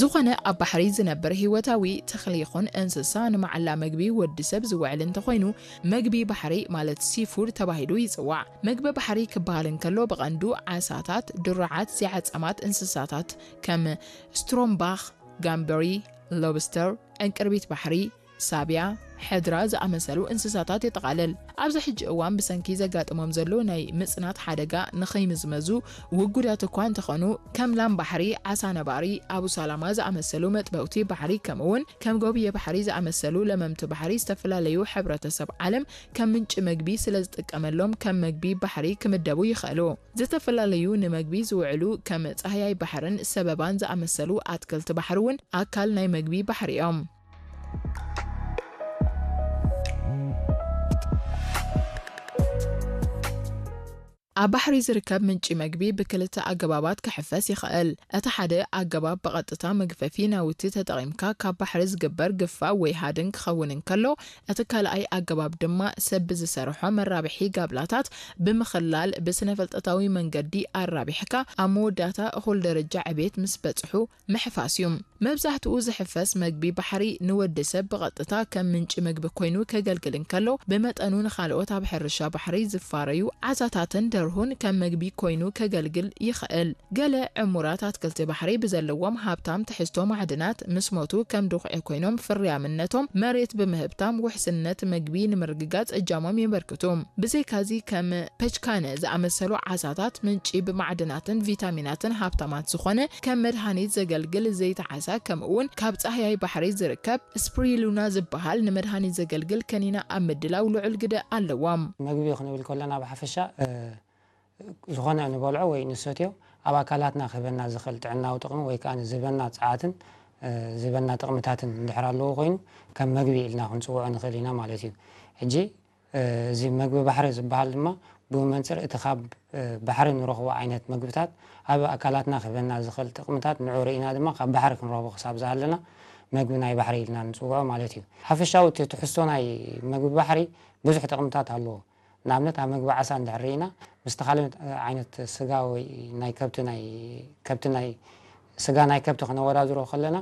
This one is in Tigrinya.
ዝኾነ ኣብ ባሕሪ ዝነብር ህይወታዊ ተኽሊ ይኹን እንስሳ ንመዓላ መግቢ ወዲ ሰብ ዝውዕል እንተኾይኑ፣ መግቢ ባሕሪ ማለት ሲፉድ ተባሂሉ ይጽዋዕ። መግቢ ባሕሪ ክበሃል እንከሎ ብቐንዱ ዓሳታት፣ ድሩዓት፣ ዘይዓጸማት እንስሳታት ከም ስትሮምባኽ፣ ጋምበሪ፣ ሎብስተር፣ ዕንቅርቢት ባሕሪ፣ ሳብያ፣ ሕድራ ዝኣመሰሉ እንስሳታት የጠቓልል። ኣብዚ ሕጂ እዋን ብሰንኪ ዘጋጥሞም ዘሎ ናይ ምጽናት ሓደጋ ንኸይምዝመዙ ውጉዳት እኳ እንተኾኑ፣ ከም ላም ባሕሪ፣ ዓሳ ነባሪ፣ ኣቡሳላማ ዝኣመሰሉ መጥበውቲ ባሕሪ፣ ከምኡውን ከም ጎብየ ባሕሪ ዝኣመሰሉ ለመምቲ ባሕሪ ዝተፈላለዩ ሕብረተሰብ ዓለም ከም ምንጪ መግቢ ስለ ዝጥቀመሎም ከም መግቢ ባሕሪ ክምደቡ ይኽእሉ። ዝተፈላለዩ ንመግቢ ዝውዕሉ ከም ጻህያይ ባሕርን ሰበባን ዝኣመሰሉ ኣትክልቲ ባሕሪ እውን ኣካል ናይ መግቢ ባሕሪ እዮም። ኣብ ባሕሪ ዝርከብ ምንጪ መግቢ ብክልተ ኣገባባት ክሕፈስ ይኽእል። እቲ ሓደ ኣገባብ ብቐጥታ መግፈፊ ናውቲ ተጠቒምካ ካብ ባሕሪ ዝግበር ግፋ ወይ ሃድን ክኸውን እንከሎ፣ እቲ ካልኣይ ኣገባብ ድማ ሰብ ብዝሰርሖ መራብሒ ጋብላታት ብምኽላል ብስነ-ፍልጠታዊ መንገዲ ኣራቢሕካ ኣብ መወዳእታ እኹል ደረጃ ዕቤት ምስ በጽሑ ምሕፋስ እዩ። መብዛሕትኡ ዝሕፈስ መግቢ ባሕሪ ንወዲ ሰብ ብቐጥታ ከም ምንጪ መግቢ ኮይኑ ከገልግል እንከሎ፣ ብመጠኑ ንኻልኦት ኣብ ሕርሻ ባሕሪ ዝፋረዩ ዓሳታትን ደርሁን ከም መግቢ ኮይኑ ከገልግል ይኽእል። ገለ ዕሙራት ኣትክልቲ ባሕሪ ብዘለዎም ሃብታም ትሕዝቶ ማዕድናት ምስ ሞቱ ከም ድኹዒ ኮይኖም ፍርያምነቶም መሬት ብምህብታም ውሕስነት መግቢ ንምርግጋጽ እጃሞም የበርክቱ። ብዘይካዚ ከም ፐችካነ ዝኣመሰሉ ዓሳታት ምንጪ ብማዕድናትን ቪታሚናትን ሃብታማት ዝኾነ ከም መድሃኒት ዘገልግል ዘይቲ ዓሳ ከምኡውን ካብ ጻህያይ ባሕሪ ዝርከብ ስፕሪሉና ዝበሃል ንመድሃኒት ዘገልግል ከኒና ኣብ ምድላው ልዑል ግደ ኣለዎም። መግቢ ክንብል ከለና ብሓፈሻ፣ እ፣ ዝኾነ ንበልዖ ወይ ንሰትዮ ኣብ ኣካላትና ክህበና ዝኽእል ጥዕናዊ ጥቕሚ ወይ ከኣ ዝህበና ጸዓትን፣ እ፣ ዝህበና ጥቕምታትን እንድሕር ኣለዎ ኮይኑ ከም መግቢ ኢልና ክንጽውዖ ንኽእል ኢና ማለት እዩ። ሕጂ፣ እ፣ እዚ መግቢ ባሕሪ ዝበሃል ድማ ብመንጽር እቲ ካብ፣ እ፣ ባሕሪ ንረኽቦ ዓይነት መግብታት ኣብ ኣካላትና ክህበና ዝኽእል ጥቕምታት ንዑ ርኢና ድማ ካብ ባሕሪ ክንረኽቦ ክሳብ ዝሃለና መግቢ ናይ ባሕሪ ኢልና ንጽውዖ ማለት እዩ። ሓፈሻዊ እቲ ትሕዝቶ ናይ መግቢ ባሕሪ ብዙሕ ጥቕምታት ኣለዎ። ንኣብነት ኣብ መግቢ ዓሳ እንድሕር ርኢና ምስቲ ካልእ ዓይነት ስጋ ወይ ናይ ከብቲ ናይ፣ ከብቲ ናይ፣ ስጋ ናይ ከብቲ ክነወዳድሮ ከለና